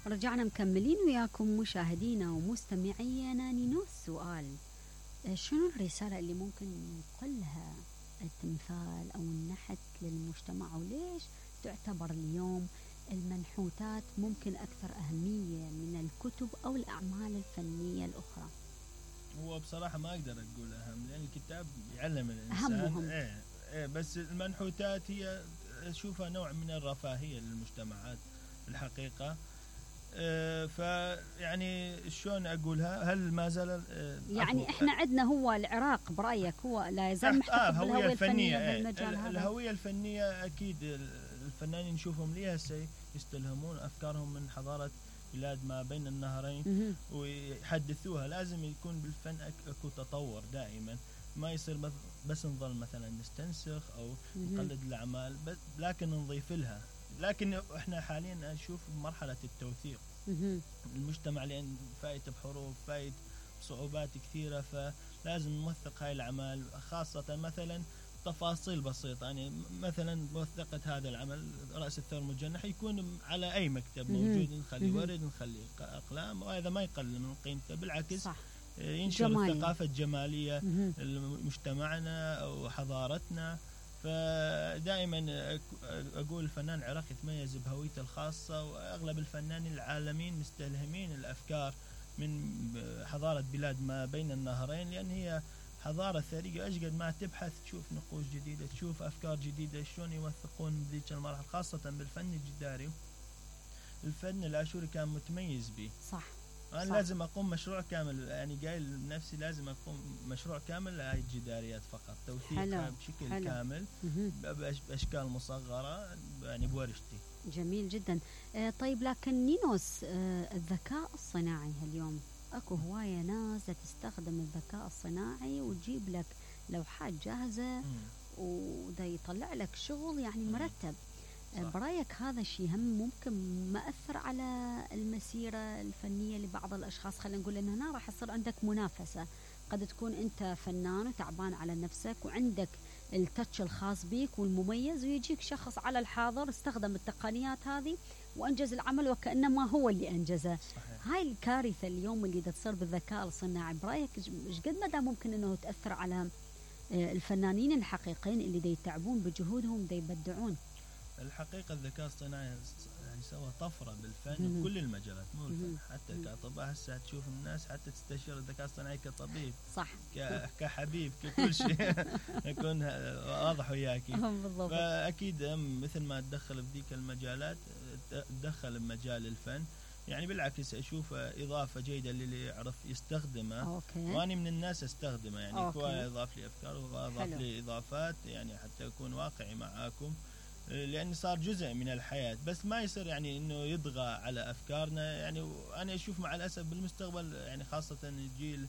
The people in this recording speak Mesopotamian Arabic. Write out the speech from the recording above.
رجعنا مكملين وياكم مشاهدينا ومستمعينا. نينوس سؤال، شنو الرسالة اللي ممكن ننقلها التمثال أو النحت للمجتمع، وليش تعتبر اليوم المنحوتات ممكن أكثر أهمية من الكتب أو الأعمال الفنية الأخرى؟ هو بصراحة ما أقدر أقول أهم، لأن الكتاب يعلم الإنسان. بس المنحوتات هي أشوفها نوع من الرفاهية للمجتمعات الحقيقة. فيعني شلون أقولها، هل ما زال يعني إحنا عندنا هو العراق برأيك هو لا يزال محتفظ بالهوية الفنية بالمجال هذا؟ الهوية الفنية أكيد الفنانين نشوفهم ليها يستلهمون أفكارهم من حضارة بلاد ما بين النهرين ويحدثوها. لازم يكون بالفن أكو تطور دائما، ما يصير بس نظل مثلا نستنسخ أو نقلد الأعمال لكن نضيف لها. لكن احنا حاليا نشوف مرحلة التوثيق المجتمع، لأن فايت بحروب، فايت بصعوبات كثيرة، فلازم نوثق هاي الأعمال، خاصة مثلا تفاصيل بسيطة. يعني مثلا موثقة هذا العمل رأس الثور المجنح يكون على أي مكتب موجود، نخلي ورد، نخلي أقلام، وهذا ما يقلل من قيمته، بالعكس صح. ينشر الثقافة الجمالية لمجتمعنا وحضارتنا. فدائما أقول الفنان العراقي يتميز بهويته الخاصة، وأغلب الفنانين العالمين مستلهمين الأفكار من حضارة بلاد ما بين النهرين، لأن هي حضارة ثرية. أشقد ما تبحث تشوف نقوش جديدة، تشوف أفكار جديدة، شلون يوثقون ذيك المراحل، خاصة بالفن الجداري. الفن الآشوري كان متميز به. صح. أنا لازم أقوم مشروع كامل، يعني قايل لنفسي لازم أقوم مشروع كامل لهاي الجداريات فقط، توثيقها بشكل كامل بأشكال مصغرة، يعني بورشتي. جميل جدا. طيب لكن نينوس، الذكاء الصناعي اليوم أكو هواية ناس تستخدم الذكاء الصناعي وتجيب لك لوحات جاهزة وده يطلع لك شغل يعني مرتب. برأيك هذا الشيء هم ممكن مأثر على المسيرة الفنية لبعض الأشخاص؟ خلينا نقول إن هنا راح يصير عندك منافسة، قد تكون أنت فنان وتعبان على نفسك وعندك التاتش الخاص بيك والمميز، ويجيك شخص على الحاضر استخدم التقنيات هذه وأنجز العمل وكأنما هو اللي أنجزه. صحيح. هاي الكارثة اليوم اللي تصير بالذكاء الصناعي، برأيك إيش قد مدى ممكن إنه تأثر على الفنانين الحقيقيين اللي دي يتعبون بجهودهم دي يبدعون؟ الحقيقة الذكاء الصناعي يعني سوى طفرة بالفن بكل المجالات، مو الفن، حتى كأطباء هسه تشوف الناس حتى تستشير الذكاء الصناعي كطبيب، صح، كحبيب، ككل شيء يكون واضح وياك. فأكيد مثل ما تدخل بذيك المجالات تدخل بمجال الفن، يعني بالعكس أشوف إضافة جيدة للي يعرف يستخدمه. وأنا من الناس أستخدمه، يعني هو يضاف لي أفكار وأضاف لي إضافات، يعني حتى أكون واقعي معاكم، لأن صار جزء من الحياة، بس ما يصير يعني إنه يطغى على أفكارنا. يعني أنا أشوف مع الأسف بالمستقبل، يعني خاصة الجيل